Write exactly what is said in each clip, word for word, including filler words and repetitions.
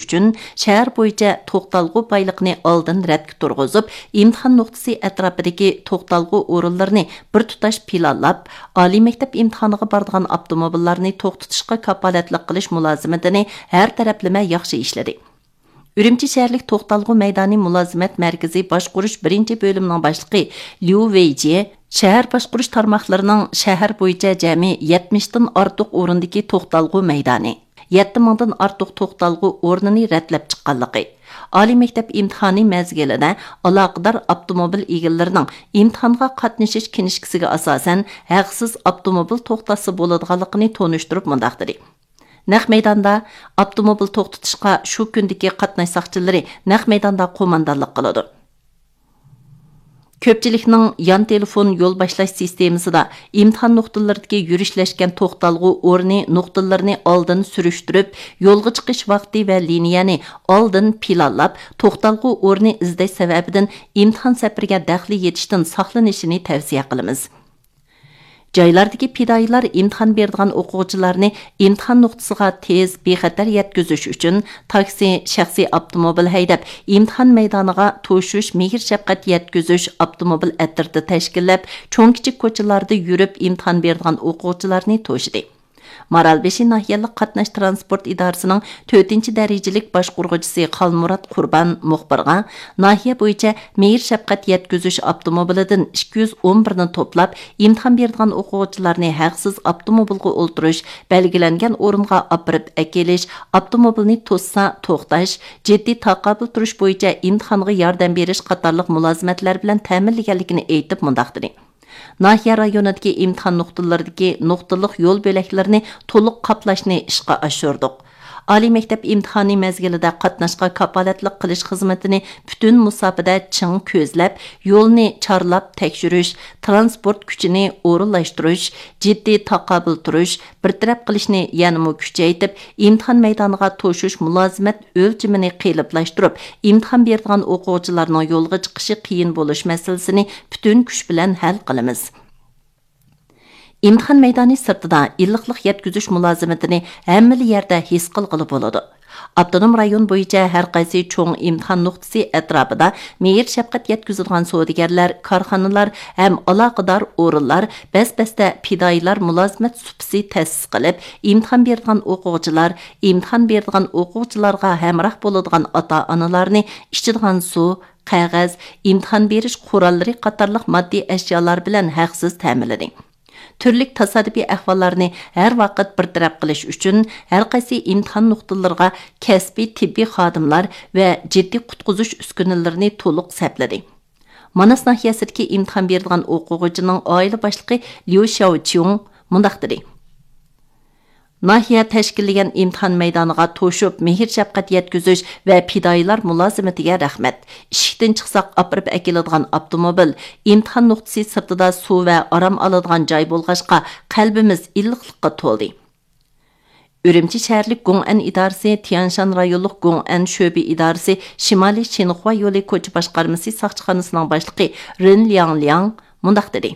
ئۈچۈن شەھەر بويىچە توختالغۇ بايلىقىنى ئالدىن رەتكە تۇرغۇزۇپ، ئىمتىھان نۇقتىسى ئەتراپىدىكى توختالغۇ ئورۇنلىرىنى بىر تۇتاش پىلانلاپ، ئالىي مەكتەپ ئىمتىھانىغا بارىدىغان ئاپتوموبىللارنى توختىتىشقا كاپالەتلىك قىلىش مۇلازىمىتىنى ھەر تەرەپلىمە ياخشى ئىشلىدى. ئۈرۈمچى شەھەرلىك توختالغۇ مەيدانى مۇلازىمەت مەركىزى باشقۇرۇش بىرىنچى بۆلۈمىنىڭ باشلىقى ليۇ ۋېيجيې شەھەر باشقۇرۇش تارماقلىرىنىڭ شەھەر بويىچە جەمئىي يەتمىشتىن ئارتۇق ئورۇندىكى توختالغۇ مەيدانى، يەتتە مىڭدىن ئارتۇق توختالغۇ ئورنىنى رەتلەپ چىققانلىقى، ئالىي مەكتەپ ئىمتىھانى مەزگىلىدە ئالاقىدار ئاپتوموبىل ئىگىلىرىنىڭ ئىمتىھانغا قاتنىشىش كىنىشكىسىگە ئاساسەن ھەقسىز ئاپتوموبىل توختاتسا بولىدىغانلىقىنى تونۇشتۇرۇپ مۇنداق دېدى: نەق مەيداندا ئاپتوموبىل توختىتىشقا شۇ كۈندىكى قاتناش ساقچىلىرى نەق مەيداندا قوماندانلىق قىلىدۇ. كۆپچىلىكنىڭ يان تېلېفون يول باشلاش سىستېمىسىدا ئىمتىھان نۇقتىلىرىدىكى يۈرۈشلەشكەن توختالغۇ ئورنى نۇقتىلىرىنى ئالدىن سۈرۈشتۈرۈپ، يولغا چىقىش ۋاقتى ۋە لىنىيەنى ئالدىن پىلانلاپ، توختالغۇ ئورنى ئىزدەش سەۋەبىدىن ئىمتىھان سەپىرىگە دەخلى يېتىشتىن ساقلىنىشىنى تەۋسىيە قىلىمىز. جايلاردىكى پىدائىيلار ئىمتىھان بېرىدىغان ئوقۇغۇچىلارنى ئىمتىھان نۇقتىسىغا تېز، بىخەتەر يەتكۈزۈش ئۈچۈن تاكسى، شەخسىي ئاپتوموبىل ھەيدەپ، ئىمتىھان مەيدانىغا توشۇش، مېھىر-شەپقەت يەتكۈزۈش ئاپتوموبىل ئەترىتى تەشكىللەپ، چوڭ-كىچىك كوچىلاردا يۈرۈپ ئىمتىھان بېرىدىغان ئوقۇغۇچىلارنى توشىدى. مارالبېشى ناھىيەلىك قاتناش ترانسپورت ئىدارىسىنىڭ تۆتىنچى دەرىجىلىك باشقۇرغۇچىسى خالمۇرات قۇربان مۇخبىرغا ناھىيە بويىچە مېھىر-شەپقەت يەتكۈزۈش ئاپتوموبىلىدىن ئىككى يۈز ئون بىرنى توپلاپ، ئىمتىھان بېرىدىغان ئوقۇغۇچىلارنى ھەقسىز ئاپتوموبىلغا ئولتۇرۇش، بەلگىلەنگەن ئورۇنغا ئاپىرىپ ئەكېلىش، ئاپتوموبىلنى توسسا توختاش، جىددىي تاقابىل تۇرۇش بويىچە ئىمتىھانغا ياردەم بېرىش قاتارلىق مۇلازىمەتلەر بىلەن تەمىنلىگەنلىكىنى ئېيتىپ مۇنداق دېدى: ناھىيە رايونىدىكى ئىمتىھان نۇقتىلىرىدىكى نۇقتىلىق يول بۆلەكلىرىنى تولۇق قاپلاشنى ئىشقا ئاشۇردۇق. ئالىي مەكتەپ ئىمتىھانى مەزگىلىدە قاتناشقا كاپالەتلىك قىلىش خىزمىتىنى پۈتۈن مۇساپىدە چىڭ كۆزلەپ، يولنى چارلاپ تەكشۈرۈش، تىرانسپورت كۈچىنى ئورۇنلاشتۇرۇش، جىددىي تاقابىل تۇرۇش، بىر تەرەپ قىلىشنى يەنىمۇ كۈچەيتىپ، ئىمتىھان مەيدانىغا توشۇش مۇلازىمەت ئۆلچىمىنى قېلىپلاشتۇرۇپ، ئىمتىھان بېرىدىغان ئوقۇغۇچىلارنىڭ يولغا چىقىشى قىيىن بولۇش مەسىلىسىنى پۈتۈن كۈچ بىلەن ھەل قىلىمىز. ئىمتىھان مەيدانى سىرتىدا ئىللىقلىق يەتكۈزۈش مۇلازىمىتىنى ھەممىلا يەردە ھېس قىلغىلى بولىدۇ. ئاپتونوم رايون بويىچە ھەر قايسى چوڭ ئىمتىھان نۇقتىسى ئەتراپىدا مېھىر-شەپقەت يەتكۈزىدىغان سودىگەرلەر، كارخانىلار ھەم ئالاقىدار ئورۇنلار بەس-بەستە پىدائىيلار مۇلازىمەت سۇپىسى تەسىس قىلىپ، ئىمتىھان بېرىدىغان ئوقۇغۇچىلار، ئىمتىھان بېرىدىغان ئوقۇغۇچىلارغا ھەمراھ بولىدىغان ئاتا-ئانىلارنى ئىچىدىغان سۇ، قەغەز، ئىمتىھان بېرىش قوراللىرى قاتارلىق ماددىي ئەشيالار بىلەن ھەقسىز تەمىنلىدى. تۈرلۈك تاسادىپىي ئەھۋاللارنى ھەر ۋاقىت بىر تەرەپ قىلىش ئۈچۈن، ھەر قايسى ئىمتىھان نۇقتىلىرىغا كەسپىي تېببىي خادىملار ۋە جىددىي قۇتقۇزۇش ئۈسكۈنىلىرىنى تولۇق سەپلىدى. ماناس ناھىيەسىدىكى ئىمتىھان بېرىدىغان ئوقۇغۇچىنىڭ ئائىلە باشلىقى ليۇ شياۋچيۇڭ مۇنداق دېدى: ناھىيە تەشكىللىگەن ئىمتىھان مەيدانىغا توشۇپ، مېھىر-شەپقەت يەتكۈزۈش ۋە پىدائىيلار مۇلازىمىتىگە رەھمەت. ئىشىكتىن چىقساق، ئاپىرىپ ئەكېلىدىغان ئاپتوموبىل، ئىمتىھان نۇقتىسى سىرتىدا سۇ ۋە ئارام ئالىدىغان جاي بولغاچقا، قەلبىمىز ئىللىقلىققا تولدى. ئۈرۈمچى شەھەرلىك گوڭئەن ئىدارىسى تيەنشان رايونلۇق گوڭئەن شۆبە ئىدارىسى شىمالىي شىنخۇا يولى كوچا باشقارمىسى ساقچىخانىسىنىڭ باشلىقى رېن لياڭلياڭ مۇنداق دېدى: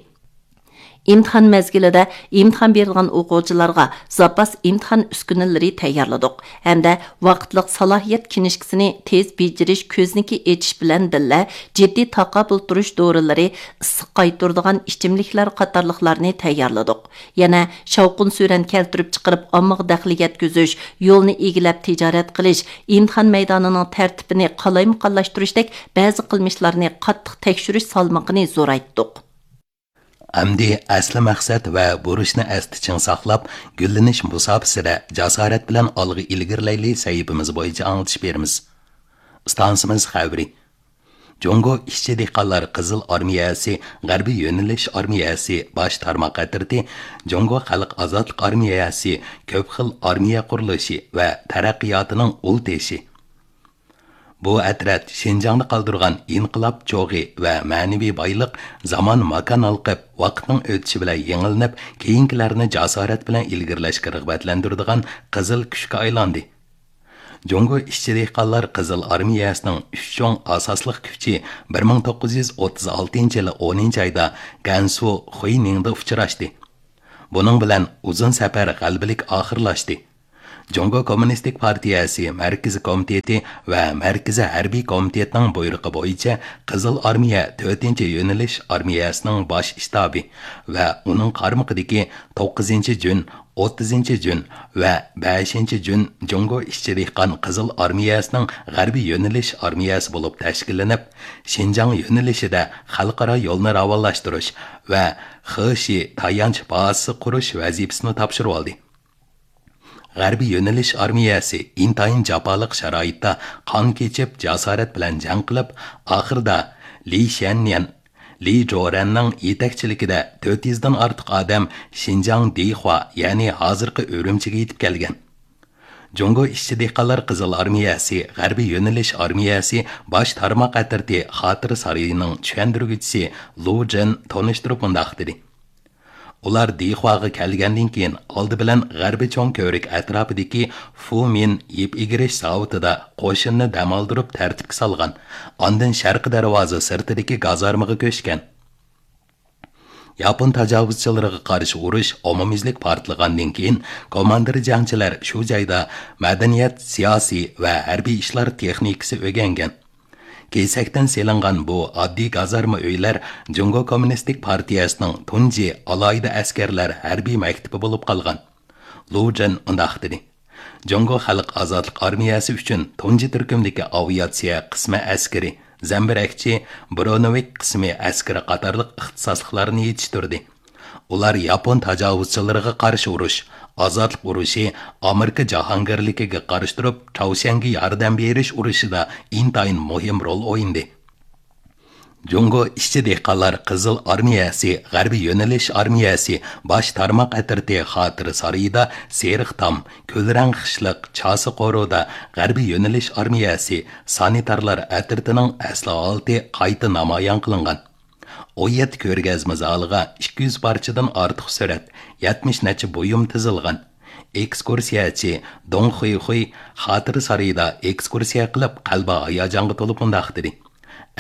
ئىمتىھان مەزگىلىدە ئىمتىھان بېرىدىغان ئوقۇغۇچىلارغا زاپاس ئىمتىھان ئۈسكۈنىلىرى تەييارلىدۇق ھەمدە ۋاقىتلىق سالاھىيەت كىنىشكىسىنى تېز بېجىرىش كۆزنىكى ئېچىش بىلەن بىللە، جىددىي تاقابىل تۇرۇش دورىلىرى، ئىسسىق قايتۇرىدىغان ئىچىملىكلەر قاتارلىقلارنى تەييارلىدۇق. يەنە شاۋقۇن-سۈرەن كەلتۈرۈپ چىقىرىپ، ئاممىغا دەخلى يەتكۈزۈش، يولنى ئىگىلەپ تىجارەت قىلىش، ئىمتىھان مەيدانىنىڭ تەرتىپىنى قالايمىقانلاشتۇرۇشتەك بەزى قىلمىشلارنى قاتتىق تەكشۈرۈش سالمىقىنى زورايتتۇق. ئەمدى ئەسلى مەقسەت ۋە بۇرچنى ئەستە چىڭ ساقلاپ، گۈللىنىش مۇساپىسىدە جاسارەت بىلەن ئالغا ئىلگىرىلەيلى سەھىپىمىز بويىچە ئاڭلىتىش بېرىمىز. ئىستانسىمىز خەۋىرى. جۇڭگو ئىشچى دېھقانلار قىزىل ئارمىيەسى غەربىي يۆنىلىش ئارمىيەسى باش تارماق ئەترىتى، جۇڭگو خەلق ئازادلىق ئارمىيەسى كۆپ خىل ئارمىيە قۇرۇلۇشى ۋە تەرەققىياتىنىڭ ئۇل تېشى. بۇ ئەترەت شىنجاڭدا قالدۇرغان ئىنقىلاب چوغى ۋە مەنىۋى بايلىق زامان ماكان ھالقىپ، ۋاقىتنىڭ ئۆتۈشى بىلەن يېڭىلىنىپ، كېيىنكىلەرنى جاسارەت بىلەن ئىلگىرىلەشكە رىغبەتلەندۈرىدىغان قىزىل كۈچكە ئايلاندى. جۇڭگو ئىشچى دېھقانلار قىزىل ئارمىيەسىنىڭ ئۈچ چوڭ ئاساسلىق كۈچى بىر مىڭ توققۇز يۈز ئوتتۇز ئالتىنچى يىلى ئونىنچى ئايدا گەنسۇ خۇينىڭدا ئۇچراشتى. بۇنىڭ بىلەن ئۇزۇن سەپەر غەلىبىلىك ئاخىرلاشتى. جۇڭگو كوممۇنىستىك پارتىيەسى مەركىزىي كومىتېتى ۋە مەركىزىي ھەربىي كومىتېتنىڭ بۇيرۇقى بويىچە، قىزىل ئارمىيە تۆتىنچى يۆنىلىش ئارمىيەسىنىڭ باش شتابى ۋە ئۇنىڭ قارمىقىدىكى توققۇزىنچى جۈن، ئوتتۇزىنچى جۈن ۋە بەشىنچى جۈن جۇڭگو ئىشچى دېھقان قىزىل ئارمىيەسىنىڭ غەربىي يۆنىلىش ئارمىيەسى بولۇپ تەشكىللىنىپ، شىنجاڭ يۆنىلىشىدە خەلقئارا يولنى راۋانلاشتۇرۇش ۋە خېشى تايانچ بازىسى قۇرۇش ۋەزىپىسىنى تاپشۇرۇۋالدى. غەربىي يۆنىلىش ئارمىيەسى ئىنتايىن جاپالىق شارائىتتا قان كېچىپ، جاسارەت بىلەن جەڭ قىلىپ، ئاخىرىدا لى شيەننيەن، لى جورەننىڭ يېتەكچىلىكىدە تۆت يۈزدىن ئارتۇق ئادەم شىنجاڭ دىخۇا، يەنى ھازىرقى ئۈرۈمچىگە يېتىپ كەلگەن. جۇڭگو ئىشچى دېھقانلار قىزىل ئارمىيەسى غەربىي يۆنىلىش ئارمىيەسى باش تارماق ئەترىتى خاتىرە سارىيىنىڭ چۈشەندۈرگۈچىسى لۇ جېن تونۇشتۇرۇپ مۇنداق دېدى: ئۇلار دىخۇاغا كەلگەندىن كېيىن، ئالدى بىلەن غەربىي چوڭ كۆۋرۈك ئەتراپىدىكى فۇمىن يىپ ئېگىرىش زاۋۇتىدا قوشۇننى دەم ئالدۇرۇپ تەرتىپكە سالغان، ئاندىن شەرقىي دەرۋازا سىرتىدىكى گازارمىغا كۆچكەن. ياپون تاجاۋۇزچىلىرىغا قارشى ئۇرۇش ئومۇميۈزلۈك پارتلىغاندىن كېيىن، كوماندىر جەڭچىلەر شۇ جايدا مەدەنىيەت، سىياسىي ۋە ھەربىي ئىشلار تېخنىكىسى ئۆگەنگەن. كېسەكتىن سېلىنغان بۇ ئاددىي گازارما ئۆيلەر جۇڭگو كوممۇنىستىك پارتىيەسىنىڭ تۇنجى ئالاھىدە ئەسكەرلەر ھەربىي مەكتىپى بولۇپ قالغان. لۇ جېن مۇنداق دېدى: جۇڭگو خەلق ئازادلىق ئارمىيەسى ئۈچۈن تۇنجى تۈركۈمدىكى ئاۋىئاتسىيە قىسمى ئەسكىرى، زەمبىرەكچى، برونېۋىك قىسمى ئەسكىرى قاتارلىق ئىختىساسلىقلارنى يېتىشتۈردى. ئۇلار ياپون تاجاۋۇزچىلىرىغا قارشى ئۇرۇش، ئازادلىق ئۇرۇشى، ئامېرىكا جاھانگىرلىكىگە قارشى تۇرۇپ، چاۋشيەنگە ياردەم بېرىش ئۇرۇشىدا ئىنتايىن مۇھىم رول ئوينىدى. جۇڭگو ئىشچى دېھقانلار قىزىل ئارمىيەسى غەربىي يۆنىلىش ئارمىيەسى باش تارماق ئەترىتى خاتىرە سارىيىدا سېرىق تام، كۈلرەڭ خىشلىق، چاسا قورۇدا غەربىي يۆنىلىش ئارمىيەسى سانىتارلار ئەترىتىنىڭ ئەسلى ھالىتى قايتا نامايان قىلىنغان. ئون يەتتە كۆرگەزمە زالىغا ئىككى يۈز پارچىدىن ئارتۇق سۈرەت، يەتمىش نەچچە بۇيۇم تىزىلغان. ئېكسكۇرسىيەچى دۇڭ خۇيخۇي خاتىرە سارىيىدا ئېكسكۇرسىيە قىلىپ، قەلبى ھاياجانغا تولۇپ مۇنداق دېدى: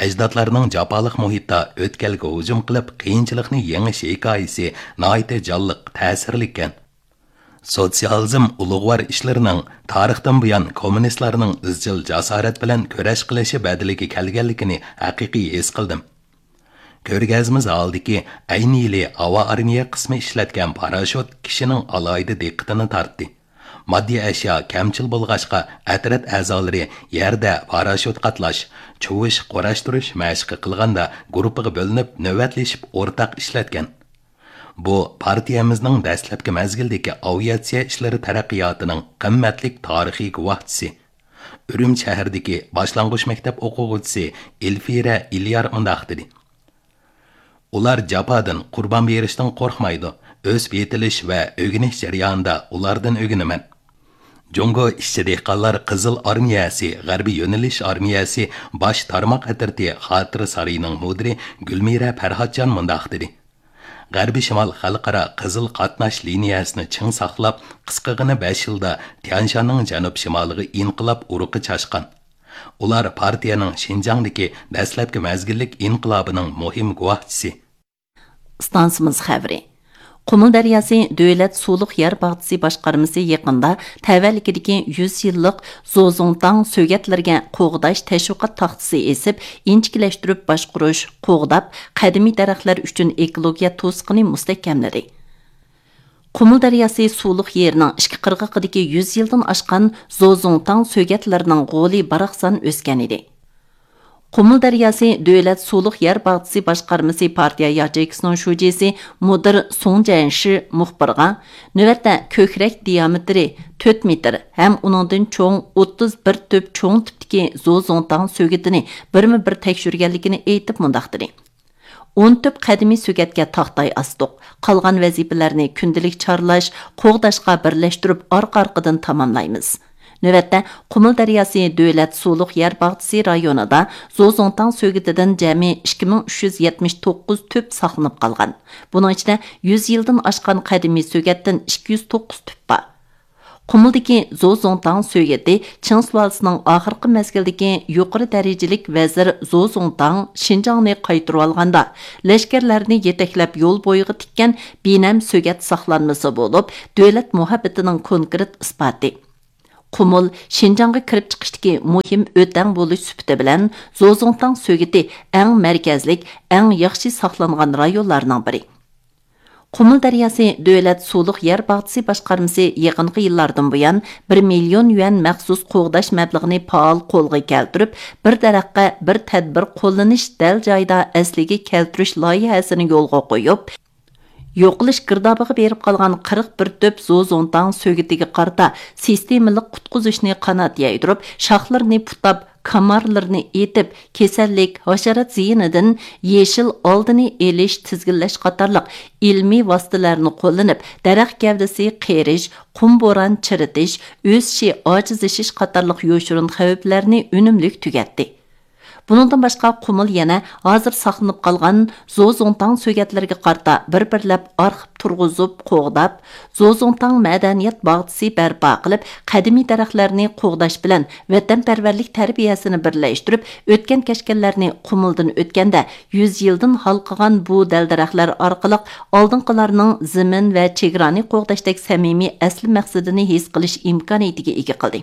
ئەجدادلارنىڭ جاپالىق مۇھىتتا ئۆتكەلگە ھۇجۇم قىلىپ، قىيىنچىلىقنى يېڭىش ھېكايىسى ناھايىتى جانلىق، تەسىرلىككەن. سوتسىيالىزم ئۇلۇغۋار ئىشلىرىنىڭ تارىختىن بۇيان كوممۇنىستلارنىڭ ئىزچىل جاسارەت بىلەن كۈرەش قىلىشى بەدىلىگە كەلگەنلىكىنى ھەقىقىي ھېس قىلدىم. كۆرگەزمە زالىدىكى ئەينى يىلى ھاۋا ئارمىيە قىسمى ئىشلەتكەن پاراشوت كىشىنىڭ ئالاھىدە دىققىتىنى تارتتى. ماددىي ئەشيا كەمچىل بولغاچقا، ئەترەت ئەزالىرى يەردە پاراشوت قاتلاش، چۇۋۇش، قۇراشتۇرۇش مەشىقى قىلغاندا گۇرۇپپىغا بۆلۈنۈپ، نۆۋەتلىشىپ ئورتاق ئىشلەتكەن. بۇ پارتىيەمىزنىڭ دەسلەپكى مەزگىلدىكى ئاۋىئاتسىيە ئىشلىرى تەرەققىياتىنىڭ قىممەتلىك تارىخىي گۇۋاھچىسى. ئۈرۈمچى شەھىرىدىكى باشلانغۇچ مەكتەپ ئوقۇغۇچىسى ئېلفىرە ئېليار مۇنداق دېدى: ئۇلار جاپادىن، قۇربان بېرىشتىن قورقمايدۇ. ئۆسۈپ يېتىلىش ۋە ئۆگىنىش جەريانىدا ئۇلاردىن ئۆگىنىمەن. جۇڭگو ئىشچى دېھقانلار قىزىل ئارمىيەسى غەربىي يۆنىلىش ئارمىيەسى باش تارماق ئەترىتى خاتىرە سارىيىنىڭ مۇدىرى گۈلمىرە پەرھاتجان مۇنداق دېدى: غەربىي شىمال خەلقئارا قىزىل قاتناش لىنىيەسىنى چىڭ ساقلاپ، قىسقىغىنە بەش يىلدا تيانشاننىڭ جەنۇب شىمالىغا ئىنقىلاب ئۇرۇقى چاچقان. ئۇلار پارتىيەنىڭ شىنجاڭدىكى دەسلەپكى مەزگىللىك ئىنقىلابىنىڭ مۇھىم گۇۋاھچىسى. ئىستانسىمىز خەۋىرى. قۇمۇل دەرياسى دۆلەت سۇلۇق يەر باغچىسى باشقارمىسى يېقىندا تەۋەلىكىدىكى يۈز يىللىق زوزۇڭتاڭ سۆگەتلىرىگە قوغداش تەشۋىقات تاختىسى ئېسىپ، ئىنچىكىلەشتۈرۈپ باشقۇرۇش، قوغداپ، قەدىمىي دەرەخلەر ئۈچۈن ئېكولوگىيە توسۇقىنى مۇستەھكەملىدى. قۇمۇل دەرياسى سۇلۇق يېرىنىڭ ئىككى قىرغىقىدىكى يۈز يىلدىن ئاشقان زوزۇڭتاڭ سۆگەتلىرىنىڭ غولى باراقسان ئۆسكەن ئىدى. قۇمۇل دەرياسى دۆلەت سۇلۇق يەر باغچىسى باشقارمىسى پارتىيە ياچېيكىسىنىڭ شۇجىسى مۇدىر سۇڭ جيەنشى مۇخبىرغا، نۆۋەتتە كۆكرەك دىيامېتىرى تۆت مېتىر ھەم ئۇنىڭدىن چوڭ ئوتتۇز بىر تۈپ چوڭ تىپتىكى زوزۇڭتاڭ سۆگىتىنى بىرمۇ بىر تەكشۈرگەنلىكىنى ئېيتىپ مۇنداق دېدى: ئون تۈپ قەدىمىي سۆگەتكە تاختاي ئاستۇق. قالغان ۋەزىپىلەرنى كۈندىلىك چارلاش، قوغداشقا بىرلەشتۈرۈپ ئارقا-ئارقىدىن تاماملايمىز. نۆۋەتتە، قۇمۇل دەرياسى دۆلەت سۇلۇق يەر باغچىسى رايونىدا زوزۇڭتاڭ سۆگىتىدىن جەمئىي ئىككى مىڭ ئۈچ يۈز يەتمىش توققۇز تۈپ ساقلىنىپ قالغان. بۇنىڭ ئىچىدە يۈز يىلدىن ئاشقان قەدىمىي سۆگەتتىن ئىككى يۈز توققۇز تۈپ بار. قۇمۇلدىكى زوزۇڭتاڭ سۆگىتى چىڭ سۇلالىسىنىڭ ئاخىرقى مەزگىلدىكى يۇقىرى دەرىجىلىك ۋەزىر زوزۇڭتاڭ شىنجاڭنى قايتۇرۇۋالغاندا، لەشكەرلەرنى يېتەكلەپ يول بويىغا تىككەن بىنەم سۆگەت ساقلانمىسى بولۇپ، دۆلەت مۇھەببىتىنىڭ كونكرېت ئىسپاتى. قۇمۇل شىنجاڭغا كىرىپ چىقىشتىكى مۇھىم ئۆتەڭ بولۇش سۈپىتى بىلەن زوزۇڭتاڭ سۆگىتى ئەڭ مەركەزلىك، ئەڭ ياخشى ساقلانغان رايونلارنىڭ بىرى. قۇمۇل دەرياسى دۆلەت سۇلۇق يەر باغچىسى باشقارمىسى يېقىنقى يىللاردىن بۇيان بىر مىليون يۈەن مەخسۇس قوغداش مەبلىغىنى پائال قولغا كەلتۈرۈپ، بىر دەرەخكە بىر تەدبىر قوللىنىش دەل جايىدا ئەسلىگە كەلتۈرۈش لايىھەسىنى يولغا قويۇپ، يوقىلىش گىردابىغا بېرىپ قالغان قىرىق بىر تۈپ زوزۇڭتاڭ سۆگىتىگە قارىتا سىستېمىلىق قۇتقۇزۇشنى قانات يايدۇرۇپ، شاخلىرىنى پۇتاپ، كامارلىرىنى ئېتىپ، كېسەللىك، ھاشارات زىيىنىدىن يېشىل ئالدىنى ئېلىش، تىزگىنلەش قاتارلىق ئىلمىي ۋاسىتىلەرنى قوللىنىپ، دەرەخ گەۋدىسى قېرىش، قۇم بوران چىرىتىش، ئۆسۈشى ئاجىزلىشىش قاتارلىق يوشۇرۇن خەۋپلەرنى ئۈنۈملۈك تۈگەتتى. بۇنىڭدىن باشقا، قۇمۇل يەنە ھازىر ساقلىنىپ قالغان زوزۇڭتاڭ سۆگەتلىرىگە قارىتا بىر-بىرلەپ ئارخىپ تۇرغۇزۇپ، قوغداپ، زوزۇڭتاڭ مەدەنىيەت باغچىسى بەرپا قىلىپ، قەدىمىي دەرەخلەرنى قوغداش بىلەن ۋەتەنپەرۋەرلىك تەربىيەسىنى بىرلەشتۈرۈپ، ئۆتكەن-كەچكەنلەرنى قۇمۇلدىن ئۆتكەندە، يۈز يىلدىن ھالقىغان بۇ دەل-دەرەخلەر ئارقىلىق ئالدىنقىلارنىڭ زېمىن ۋە چېگرانى قوغداشتەك سەمىمىي ئەسلى مەقسىتىنى ھېس قىلىش ئىمكانىيىتىگە ئىگە قىلدى.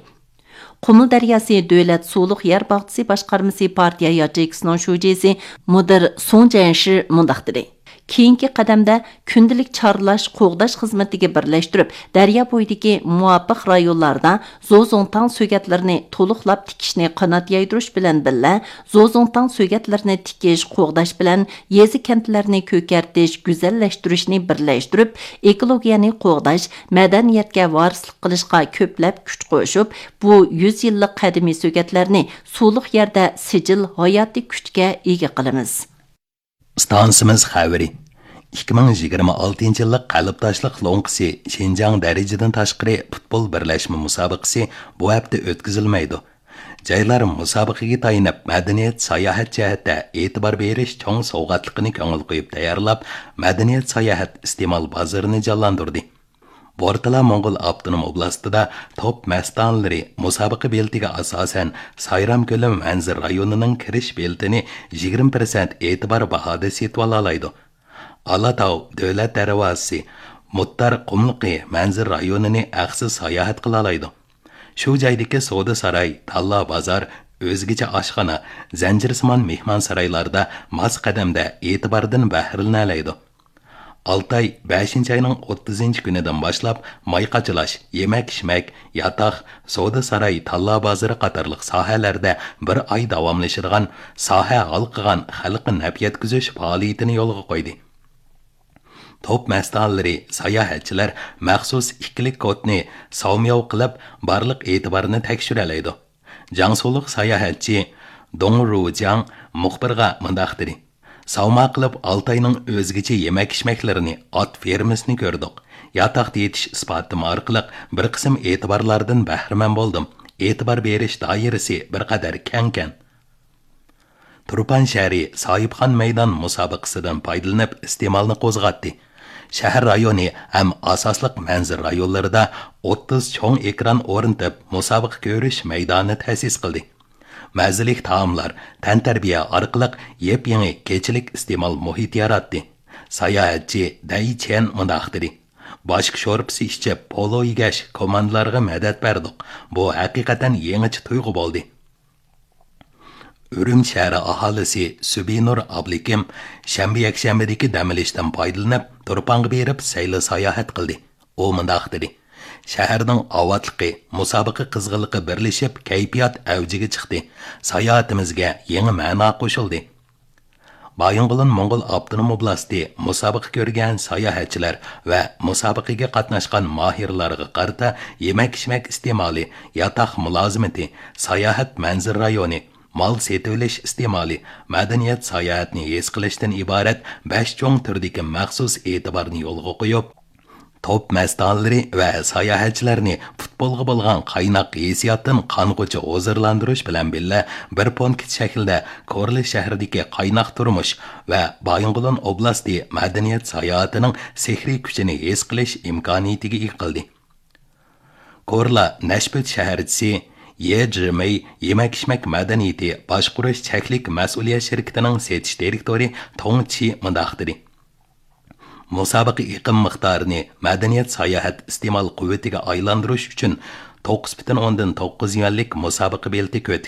قۇمۇل دەرياسى دۆلەت سۇلۇق يەر باغچىسى باشقارمىسى پارتىيە ياچېيكىسىنىڭ شۇجىسى مۇدىر سۇڭ جيەنشى مۇنداق دېدى: كېيىنكى قەدەمدە كۈندىلىك چارلاش، قوغداش خىزمىتىگە بىرلەشتۈرۈپ، دەريا بويىدىكى مۇۋاپىق رايونلاردا زوزۇڭتاڭ سۆگەتلىرىنى تولۇقلاپ تىكىشنى قانات يايدۇرۇش بىلەن بىللە، زوزۇڭتاڭ سۆگەتلىرىنى تىكىش، قوغداش بىلەن يېزا، كەنتلەرنى كۆكەرتىش، گۈزەللەشتۈرۈشنى بىرلەشتۈرۈپ، ئېكولوگىيەنى قوغداش، مەدەنىيەتكە ۋارىسلىق قىلىشقا كۆپلەپ كۈچ قوشۇپ، بۇ يۈز يىللىق قەدىمىي سۆگەتلەرنى سۇلۇق يەردە سىجىل، ھاياتىي كۈچكە ئىگە قىلىمىز. ئىستانسىمىز خەۋىرى. ئىككى مىڭ يىگىرمە ئالتىنچى يىللىق قەلبداشلىق لوڭقىسى شىنجاڭ دەرىجىدىن تاشقىرى پۇتبول بىرلەشمە مۇسابىقىسى بۇ ھەپتە ئۆتكۈزۈلمەيدۇ. جايلار مۇسابىقىگە تايىنىپ، مەدەنىيەت، ساياھەت جەھەتتە ئېتىبار بېرىش چوڭ سوۋغاتلىقىنى كۆڭۈل قويۇپ تەييارلاپ، مەدەنىيەت، ساياھەت ئىستېمال بازىرىنى جانلاندۇردى. ئورتىلا موڭغۇل ئاپتونوم ئوبلاستىدا توپ مەستانىلىرى مۇسابىقە بېلىتىگە ئاساسەن، سايرام كۆلى مەنزىرە رايونىنىڭ كىرىش بېلىتىنى يىگىرمە پىرسەنت ئېتىبار باھادا سېتىۋالالايدۇ. ئالاتاۋ دۆلەت دەرۋازىسى، مۇتتار قۇملۇقى مەنزىرە رايونىنى ھەقسىز ساياھەت قىلالايدۇ. شۇ جايدىكى سودا ساراي، تاللا بازار، ئۆزگىچە ئاشخانا، زەنجىرسىمان مېھمانسارايلاردا ماس قەدەمدە ئېتىباردىن بەھرىلىنەلەيدۇ. ئالتاي بەشىنچى ئاينىڭ ئوتتۇزىنچى كۈنىدىن باشلاپ ماي قاچىلاش، يېمەك-ئىچمەك، ياتاق، سودا ساراي، تاللا بازىرى قاتارلىق ساھەلەردە بىر ئاي داۋاملىشىدىغان ساھە ھالقىغان خەلققە نەپ يەتكۈزۈش پائالىيىتىنى يولغا قويدى. توپ مەستانىلىرى، ساياھەتچىلەر مەخسۇس ئىككىلىك كودنى ساۋمياۋ قىلىپ، بارلىق ئېتىبارنى تەكشۈرەلەيدۇ. جياڭسۇلۇق ساياھەتچى دۇڭ رۇجياڭ مۇخبىرغا مۇنداق دېدى: ساۋما قىلىپ، ئالتاينىڭ ئۆزگىچە يېمەك-ئىچمەكلىرىنى، ئات فېرمىسىنى كۆردۇق. ياتاقتا يېتىش ئىسپاتىم ئارقىلىق بىر قىسىم ئېتىبارلاردىن بەھرىمەن بولدۇم. ئېتىبار بېرىش دائىرىسى بىر قەدەر كەڭكەن. تۇرپان شەھىرى ساھىبخان مەيدان مۇسابىقىسىدىن پايدىلىنىپ ئىستېمالنى قوزغاتتى. شەھەر رايونى ھەم ئاساسلىق مەنزىرە رايونلىرىدا ئوتتۇز چوڭ ئېكران ئورنىتىپ، مۇسابىقە كۆرۈش مەيدانى تەسىس قىلدى. مەززىلىك تائاملار، تەنتەربىيە ئارقىلىق يېپيېڭى كېچىلىك ئىستېمال مۇھىتى ياراتتى. ساياھەتچى دەي چيەن مۇنداق دېدى: باشكا شورپىسى ئىچىپ، پولو يېگەچ، كوماندىلارغا مەدەت بەردۇق. بۇ ھەقىقەتەن يېڭىچە تۇيغۇ بولدى. ئۈرۈمچى شەھىرى ئاھالىسى سۈبىنۇر ئابلىكىم شەنبە، يەكشەنبىدىكى دەم ئېلىشتىن پايدىلىنىپ، تۇرپانغا بېرىپ سەيلە ساياھەت قىلدى. ئۇ مۇنداق دېدى: شەھەرنىڭ ئاۋاتلىقى، مۇسابىقە قىزغىنلىقى بىرلىشىپ، كەيپىيات ئەۋجىگە چىقتى. ساياھىتىمىزگە يېڭى مەنا قوشۇلدى. بايىنغولىن موڭغۇل ئاپتونوم ئوبلاستى مۇسابىقە كۆرگەن ساياھەتچىلەر ۋە مۇسابىقىگە قاتناشقان ماھىرلارغا قارىتا يېمەك-ئىچمەك ئىستېمالى، ياتاق مۇلازىمىتى، ساياھەت مەنزىرە رايونى، مال سېتىۋېلىش ئىستېمالى، مەدەنىيەت ساياھەتنى ھېس قىلىشتىن ئىبارەت بەش چوڭ تۈردىكى مەخسۇس ئېتىبارنى يولغا قويۇپ، توپ مەستانىلىرى ۋە ساياھەتچىلەرنى پۇتبولغا بولغان قايناق ھېسسىياتتىن قانغۇچە ھۇزۇرلاندۇرۇش بىلەن بىللە، بىر پونكىت شەكلىدە كورلا شەھىرىدىكى قايناق تۇرمۇش ۋە بايىنغولىن ئوبلاستى مەدەنىيەت ساياھىتىنىڭ سېھرىي كۈچىنى ھېس قىلىش ئىمكانىيىتىگە ئىگە قىلدى. كورلا نەشپۈت شەھەرچىسى يې جىمېي يېمەك-ئىچمەك مەدەنىيىتى باشقۇرۇش چەكلىك مەسئۇلىيەت شىركىتىنىڭ سېتىش دىرېكتورى توڭ چى مۇنداق دېدى: مۇسابىقە ئېقىم مىقدارىنى مەدەنىيەت ساياھەت ئىستېمال قۇۋۋىتىگە ئايلاندۇرۇش ئۈچۈن توققۇز پۈتۈن ئوندىن توققۇز يۈەنلىك مۇسابىقە بېلىتى كۆتىكى